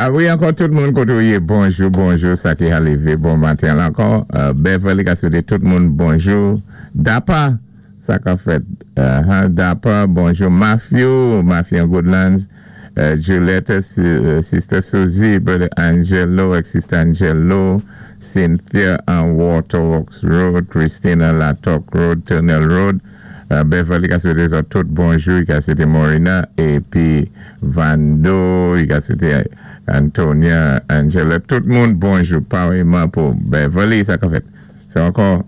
A wi, ankò tout moun koté ou yé, bonjou, bonjou, sa ki ka lévé bon maten la ankò. Beverly ka swété tout moun bonjou. Dapa, sa ka fèt. Dapa, bonjou. Matthew, Matthew Goodlands, Juliette, Sister Susie, Brother Angelo, ak Sister Angelo, Cynthia an Waterworks Road, Christina Latok Road, Tunnel Road, Beverly ka swété zòt tout bonjou, i ka swété Morina, épi Vando, i ka swété Antonia, Angela, tout moun bonjou, paréyman pou Beverly, sa ka fèt. Sa ankò,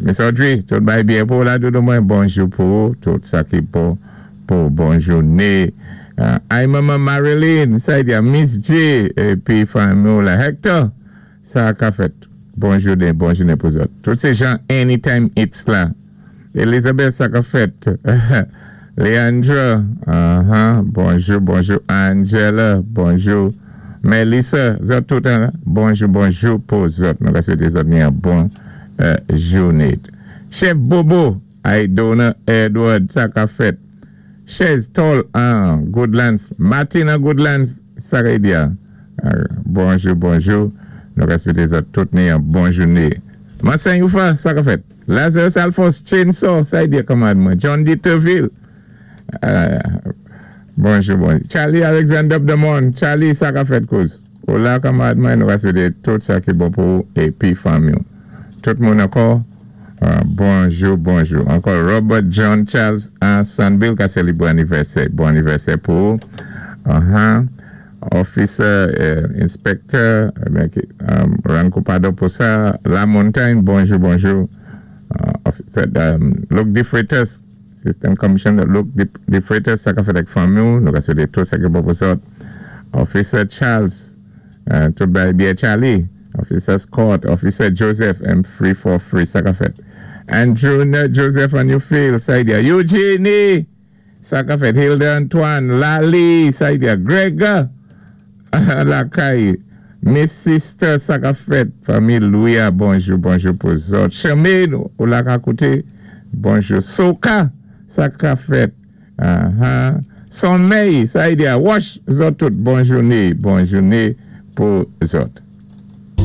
Miss Audrey, tout bay byen pou la doudou mwen, bonjou pou tout sa ki bon pou bon jouné. Ay manman Marilyn, sa y di a Miss J, épi fanmi la Hector, sa ka fèt. Bon jouné, bon jouné pou zòt. Tout sé jan Anytime It's la. Elizabeth, sa ka fèt. Leandra, bonjou, bonjou. Angela, bonjou. Melissa, zòt tout, bonjou, bonjou pou zòt. Nou ka swété zòt ni yon bon jouné. Chef Bobo, Aidona Edward, sa ka fèt. Chez Tol an Goodlands, Martin an Goodlands, sa ka di a. Bonjou, bonjou. Nou ka swété zòt tout ni yon bon jouné. Mansan Youfa, sa ka fèt. Lazarus Alphonse, Chainsaw, sa y di kanmarad mwen. John Dieterville, bonjou, bonjou. Charlie Alexander Demon, Charlie, sa ka fèt kouz. Ou la kanmarad mwen, nou ka swété tout sa ki bon pou ou épi fanmi. Tout moun ankò, bonjou, bonjou. Ankò Robert John Charles an Sandville ka sélébwé anivèsè. Bon anivèsè pou ou. Officer, Inspector, rann kou padon pou sa. La Montagne, bonjou, bonjou. Officer, Luke DeFreitas, System Commissioner Luke DeFreitas, sa ka fèt ak fanmi ou, nou ka swété tout sa ki bon pou zòt. Officer Charles, tout bay byen Charlie. Officer Scott, Officer Joseph, M343, sa ka fèt. Andrew Joseph on Newfield, sa y di a Eugenie! Sa ka fèt. Hilda Antoine, Lali, sa y di a Greg, Lakay, Miss Sister, sa ka fèt. Fanmi Louis, bonjou, bonjou pou zòt. Charmaine, ou la ka kouté, bonjou. Soka, sa ka fèt. Sommeil, sa y di a Wash, zòt tout, bon jouné, bon jouné pou zòt.